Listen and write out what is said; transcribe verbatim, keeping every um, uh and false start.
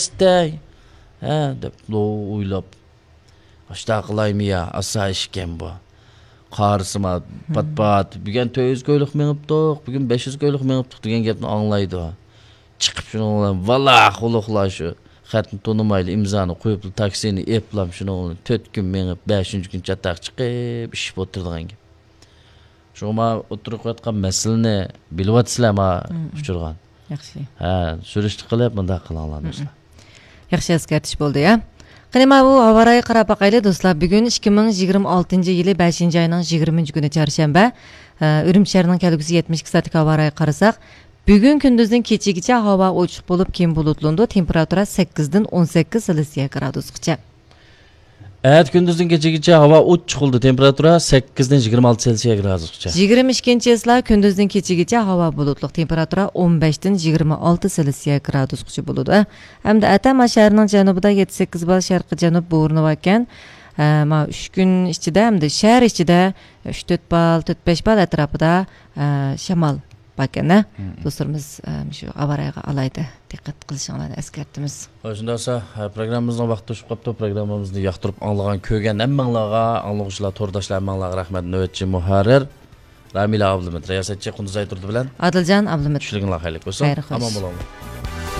ئىستەي. ھە، دەپ، لو ئويلاپ. ئاشتا قىلايمۇ يا، ئاسا ئىشكەن بۇ. قارىسىما، پات-پات. بۈگۈن تۆت يۈز كويلۇق مېڭىپتۇق، بۈگۈن بەش يۈز كويلۇق مېڭىپتۇق دېگەن گەپنى ئاڭلايدۇ. چىقىپ شۇنىڭ بىلەن، ۋالا، خۇلۇقلار شۇ. خەتنى تونۇمايلى، ئىمزانى قويۇپلا تاكسىنى ئېپلاپ، شۇنىڭ بىلەن تۆت كۈن مېڭىپ، بەشىنچى كۈن چاتاق چىقىپ، ئىششىپ ئولتۇرىدىغان گەپ. شۇڭا ما ئوتتۇرىغا قويۇۋاتقان مەسىلىنى بىلىۋاتىسىلەر ما ئۇچۇرغان. ياخشى. ھە، سۈرۈشتە قىلىپ مۇنداق قىلىڭلار، دوستلار. ياخشى ئەسكەرتىش بولدى، يا. قېنى، ما بۇ ھاۋا رايىغا قاراپ باقايلى، دوستلار. بۈگۈن ئىككى مىڭ يىگىرمە ئالتىنچى يىلى بەشىنچى ئاينىڭ يىگىرمىنچى كۈنى چارشەنبە. ئە، ئۈرۈمچى شەھىرىنىڭ كەلگۈسى يەتمىش ئىككى سائەتلىك ھاۋا رايىغا قارىساق، بۈگۈن كۈندۈزدىن كېچىگىچە ھاۋا ئوچۇق بولۇپ، كېيىن بۇلۇتلىنىدۇ. تېمپېراتۇرا سەككىزدىن ئون سەككىز سېلسىيە گرادۇسقىچە. ئەتە كۈندۈزدىن كېچىگىچە ھاۋا ئوچۇق بولىدۇ. تېمپېراتۇرا سەككىزدىن يىگىرمە ئالتە سېلسىيە گرادۇسقىچە. يىگىرمە ئىككىنچى چىسلا كۈندۈزدىن كېچىگىچە ھاۋا بۇلۇتلۇق. تېمپېراتۇرا ئون بەشتىن يىگىرمە ئالتە سېلسىيە گرادۇسقىچە بولىدۇ. ھەمدە ئەتە ما شەھەرنىڭ جەنۇبىدا يەتتە سەككىز بال شەرقىي جەنۇب بورىنى باركەن. ئە، ما ئۈچ كۈن ئىچىدە، ھەمدە شەھەر ئىچىدە ئۈچ تۆت بال، تۆت بەش بال ئەتراپىدا، ئە، شامال باركەن، ھە؟ مم. دوستلىرىمىز، ئە، شۇ ئاۋارەگە ئالايدا دىققەت قىلىشىڭلارنى ئەسكەرتىمىز. ھوي، شۇنداق بولسا، ھە، پروگراممىمىزنىڭ ۋاقتى توشۇپ قاپتۇ. پروگراممىمىزنى ياقتۇرۇپ ئاڭلىغان، كۆرگەن ھەممىڭلارغا، ئاڭلىغۇچىلار، تورداشلار ھەممىڭلارغا رەھمەت. نۆۋەتچى مۇھەررىر رامىلە ئابلىمىت، رىياسەتچى قۇندۇز ئايتۇردى بىلەن ئادىلجان ئابلىمىت. چۈشلۈكۈڭلار خەيرلىك بولسۇن. خەير خوش. ئامان بولۇڭلار.